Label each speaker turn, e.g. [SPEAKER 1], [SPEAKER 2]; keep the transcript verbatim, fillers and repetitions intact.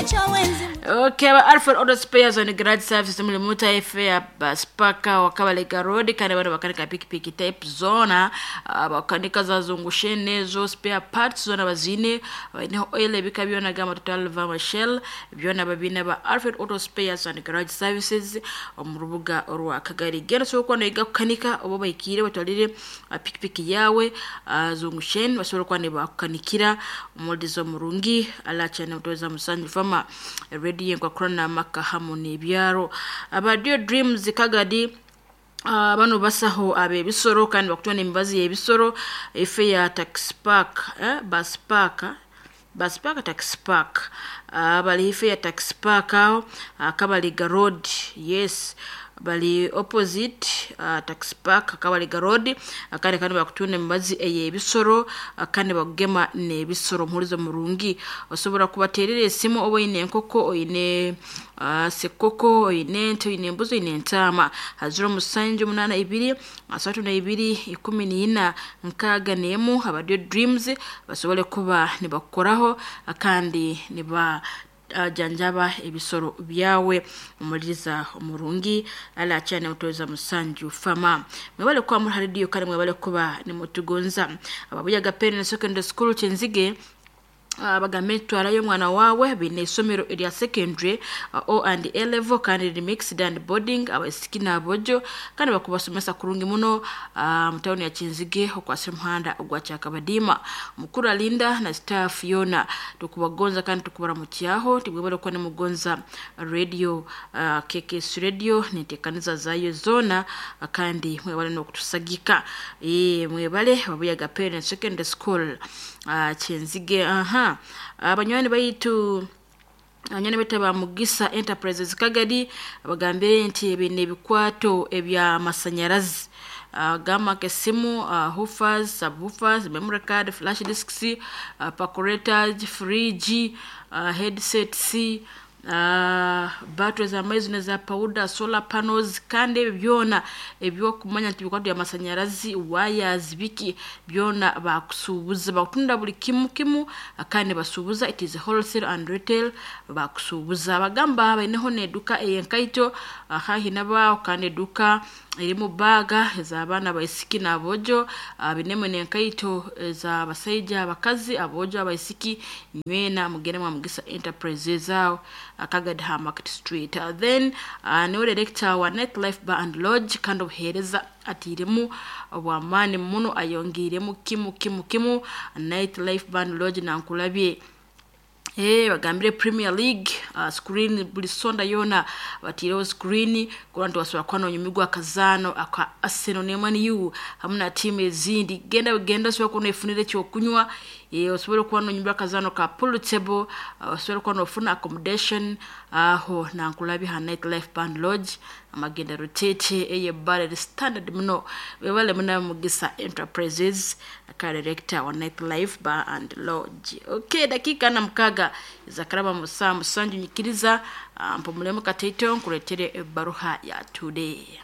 [SPEAKER 1] Okay, ba Alfred Auto Spares on Garage Service muri muta F Spaka wa Kabalega Road, kandi bano bakanika pikipiki type zona, ah, bakanika za zungushene zo spare parts zona bazine baineho oil ebika byona gama Total Vama Shell byona babine ba Alfred Auto Spares and Garage Services omu rubuga orwa Kagari. Genda so kwa noiga kukanika obo baikire batwalire ah, pikipiki yawe ah, zungushene basobora kuba nibakukanikira omulizo murungi alacha nemutoza musanju fama radio nkwakurana amaka hamu n'ebyaro. Aba Dio Dreams Kagadi, Uh, bano basaho ab'ebisoro kandi bakutwara emibazi y'ebisoro efe ya tax park, eh, bus park, bus park, tax park, uh, bali ife ya tax park aho uh, Kabaliga Road. Yes, bali opposite uh, tax park, Kabaliga Road, kandi kandi bakutunda emibazi ey'ebisoro, uh, kandi bakugema n'ebisoro muhurizo murungi. Osobola kubaterera esimu oba oyine enkoko, oyine uh, sekoko, oyine ente, oyine embuzi, oyine entaama, haziro musanju munana ibiri asatu na ibiri ikumi n'ina nkaaga n'emu. Aba Dio Dreams basobole kuba nibakukoraho kandi niba uh, janjaba ebisoro byawe omuliriza omurungi ala cyane mutoza musanju fama. Mwebale kuba muri radio kandi mwebale kuba nimutugonza. Ababuyaga Pen Secondary School Kyenzige, uh, bagambe twarayo omwana wawe, bine isomero erya secondary uh, O and A level, kandi riri mixed and boarding, abaisiki n'abojo, kandi bakubasomesa kurungi muno uh, mu tawuni ya Kyenzige okwasira omuhanda ogwa Kyakabadiima. Mukuru Alinda na staff yona tukubagonza kandi tukubaramukyaho tibwebale kuba nimugonza radio uh, K K S Radio nintekaniza zayo zona, uh, kandi mwebale n'okutusagika. e, mwebale Babuyaga Parents Secondary School uh, Kyenzige. Aha, abanywani baitu, abanywanyi baitu ba Mugisa Enterprises Kagadi, bagambire nti ebi n'ebikwato ebyamasanyarazi, uh, gamba nk'esimu, uh, woofers, subwoofers, memory card, flash disks, uh, percolators, fridge, uh, headsets, uh, battery z'amaizi neza powder, solar panels, kandi ebyo byona ebyokumanya nti bikwato byamasanyarazi, wires, biki byona bakusuubuza, bakutunda buli kimu kimu kandi basuubuza. It is wholesale and retail, bakusuubuza. Bagamba baineho n'eduka ey'enkaito haihi nabaaho, kandi eduka erimu baaga ez'abaana abaisiki n'aboojo, uh, binemu n'enkaito ez'abasaija, abakazi, aboojo, abaisiki. Nywena mugende mwa Mugisa Enterprises aho Kagadi ha Market Street. uh, then uh, niwe director wa Night Life Bar and Lodge, kandi obuheereza atiiremu obwamaani muno, ayongiiremu kimu kimu kimu. Night Life Bar and Lodge nankulabye. Eh, bagambire Premier League uh, screen buli sonda yona batiireho screen kuba nti wasobola kuba nonyumirwa akazaano aka Arsenal ne Man U hamu na tiimu ezindi. Genda genda osobola kuba noefunira ekyokunywa, eh, osobole okuba nonyumirwa akazaano ka pool table, uh, osobole okuba nofuna accommodation aho nankulabye ha Night Life Band Lodge, amagenda rutete ey'ebbala eri standard muno. Webale muna Mugisa Enterprises aka director wa Night Life Bar and Lodge. Okay, dakika na mukaga zakaraba musaa musanju, nyikiriza uh, mpumulemu kataito nkuletere ebbaruha ya today.